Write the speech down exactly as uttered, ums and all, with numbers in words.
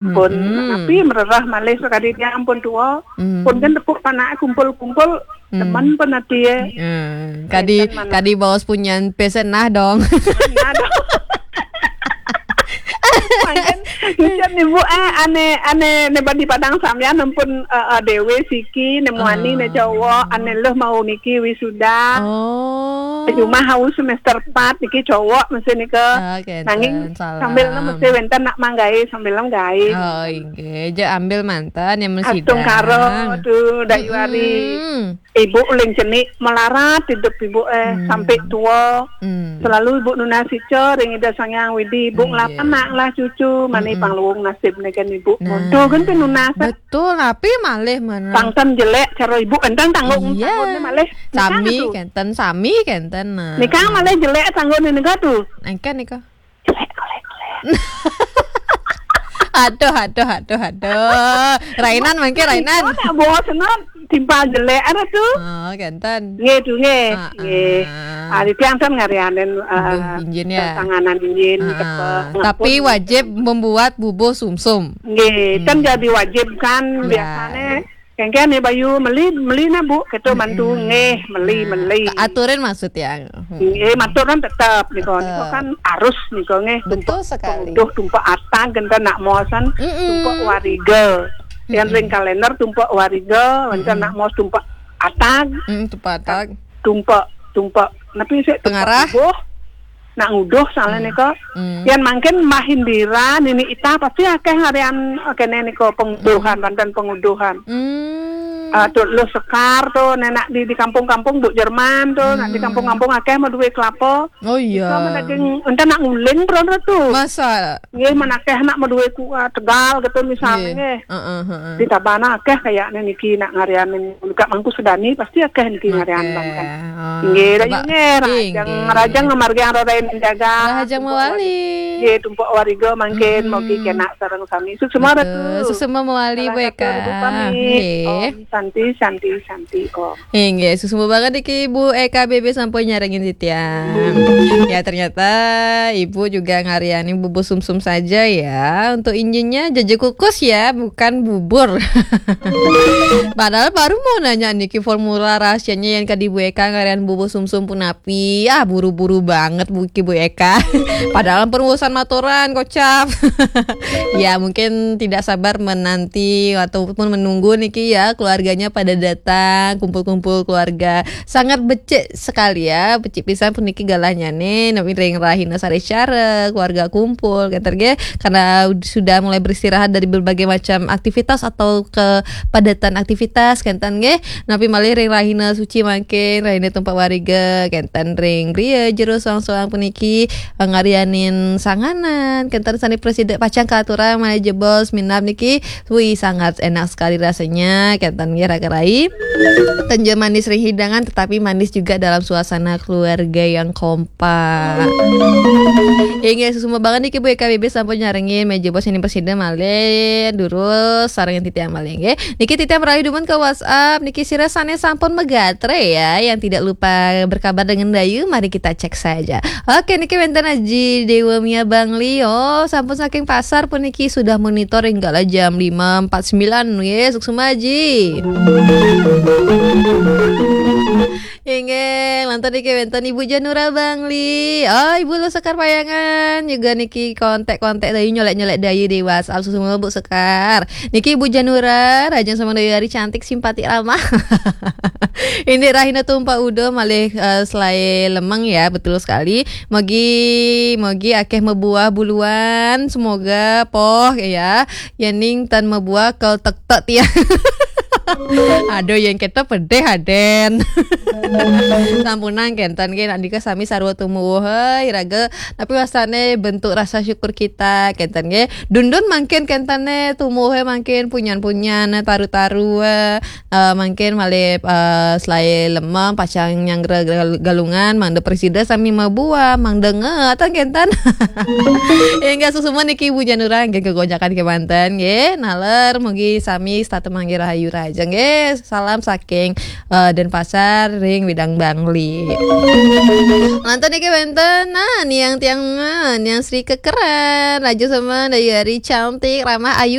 Pun, mm-mm, napi mererah malih sakadi tiang pun tua. Mm. Pun kan tepuk panak kumpul-kumpul, mm, teman pun ati, eh. Mm. Kadi, enten manah, kadi baos punyan pesen nah dong. Nah dong. Mangkin, ucap ni, Bu, eh, ane, ane, ne badi padang sambian ampun, eh, eh, dewe siki, ne muani, ne, ah, cowok, ane luh mau niki wisuda. Oh. Cuma haus semester empat niki cowok mesti nika. Ah, kenten. Nanging salam. Sambil mesti wenten nak manggai, sambil manggai. Oh, inggih. Ja ambil manten yang mesti. Astungkara tu, Dayu Ari. Mm-mm. Ibu uling cenik melarat hidup ibu, eh, hmm, sampai tua. Hmm. Selalu ibu nunas ica ring Ida Sang Hyang Widi. Ibu, iya, ngelapan nak lah cucu, mani, mm-mm, pangluung nasib niki kan ibu. Nah, monto kan pinunas. Betul, tapi malih mana? Tangkan jelek cara ibu, enten tanggung, iya, tanggungne malih. Nikah sami tu. Kenten, sami kenten, nah. Nikah malih jelek tanggungne nikah tu. Engken nikah. Jelek, jelek, jelek. Aduh, aduh, aduh, aduh. Rainan mangke, rainan. Nak bos nak timpal jelek ada tu. Oh, kenten. Nggih tu, nggih. Ah, nggih. Ah. Ah, di tiang kan ngarianin, ah, ah, injin ya. Tanganan injin, ah, tepuk, ah. Tapi ngapun wajib membuat bubuh sumsum. Nggih, kan, hmm, jadi wajib kan, ya, biasanya. Kengken ni Bayu, meli, meli na, Bu, kita, mm-mm, mantu, nggih, meli, nah, meli. Aturin maksud ya. Mm-mm. Nggih, matur kan tetap, nika, nika, tetap, kan arus nika, nggih. Betul sekali. Tumpak, tumpak atag, kenten nak mosan, mm-mm, tumpak wariga. Yang, mm-mm, ring kalender tumpak wariga, kenten, mm-mm, nak mos tumpak atag. Mm, tumpak atag. Tumpak, tumpak, napi sih, tumpak pengarah. Bubuh. Nak nguduh soalnya, hmm, nika. Hmm. Yan mangkin Mbah Indira, Nini Ita pasti akeh ngarian, eh, kene nika penguduhan, hmm, banten penguduhan. Hmm. Ah, tu lu Sekar tu, nenak di, di kampung-kampung, Bu Jerman tu, nak di, hmm, kampung-kampung akeh mau duwe kelapa. Oh iya. Nika mah daging, enten nak nguling pun ada tu. Masa? Nggih, men akeh nak mau duwe ku, ah, Tegal gitu misalnya, nggih, nggih. Heeh, heeh. Di Tabanan akeh kayaknya niki nak ngarianin. Buka mangku sedani pasti akeh niki ngarian, akeh, banten. Oh, nggih, coba. Rayu nggih, rajang, inggih, rajang ngamargiang rarain menjaga. Rahajeng mawali. Nggih, tumpuk wariga mangkin, mm-mm, mogi kenak sareng sami. Suksma, betul, Ratu. Suksma mawali, Bu Eka. Salam satu, Ibu pamit. Nggih. Om Santi, Santi, Santi, Om. Inggih, suksma banget niki Ibu Eka B B sampun nyarengin titiang. Ya, ternyata Ibu juga ngariani bubur sumsum saja ya. Untuk injinnya jaja kukus ya, bukan bubur. Padahal baru mau nanya niki formula rahasianya yang kadi Bu Eka ngarian bubur sumsum punapi. Ah, buru-buru banget Bu, Bu Eka. Padahal pun urusan maturan, kocap. Ya, mungkin tidak sabar menanti ataupun menunggu niki ya, keluarganya pada datang, kumpul-kumpul keluarga. Sangat becik sekali ya, becik pisan puniki galahnya nih, nami ring rahina sare cara, keluarga kumpul, kenten nggih, karena sudah mulai beristirahat dari berbagai macam aktivitas atau kepadatan aktivitas, kenten nggih. Napi malih ring rahina suci mangkin, rahina tumpak wariga, kenten ring griya jero soang-soang puniki, ngarianin sanganan, kenten sane prasida pacang katurang malih jebos minab niki. Wih, sangat enak sekali rasanya, kenten nggih raka rai. Tenja manis ring hidangan, tetapi manis juga dalam suasana keluarga yang kompak. Pak. Inggih, suksma banget niki Bu Eka B B sampun nyarengin, malih jebos sane prasida malih durus sareng titiang malih nggih. Niki titiang meralih dumun ke WhatsApp, niki sira sane sampun magatre ya, yang tidak lupa berkabar dengan Dayu, mari kita cek saja. Oke, niki wenten Aji Dewa Mia Bangli, oh, sampun saking pasar puniki sudah monitor hingga jam lima empat sembilan nggih, suksma Aji. Inggih, lantur niki wenten Ibu Janura Bangli. Oh, Ibu Luh Sekar Payangan. Juga niki kontak-kontak Dayu, nyolek-nyolek Dayu di WhatsApp. Suksma Bu Sekar. Niki Ibu Janura, rahajeng sareng Dayu Ari cantik, simpati ramah. Indik rahina tumpak uda malih, eh, selae lemeng ya, betul sekali. Mogi, mogi akeh mabuah buluan. Semoga poh ya. Yening tan mabuah kal tektek tiang. Aduh, yang kita pedih aden. Sampunang kenten nggih, nak nika sami sarwa tumuwuh, hei, raga. Tapi wasane bentuk rasa syukur kita, kenten nggih. Dundun mangkin kentene tumuwuhe mangkin punyan-punyan, taru-taru, eh, mangkin malih, eh, selae lemeng, pacang nyanggra gal-, galungan, mangda prasida sami mabuah, mangda ngetan kenten. Inggih suksma niki Ibu Janura nggih, kegonjakan kemanten nggih. Naler mugi sami setata mangke rahayu raja. Tengge, salam saking eh, Denpasar ring Widang Bangli. Lantas niki wénten nah niang tiang, eh, niang Sri Kekeran, Raju Semen, Dayu Ari, cantik, ramah, ayu,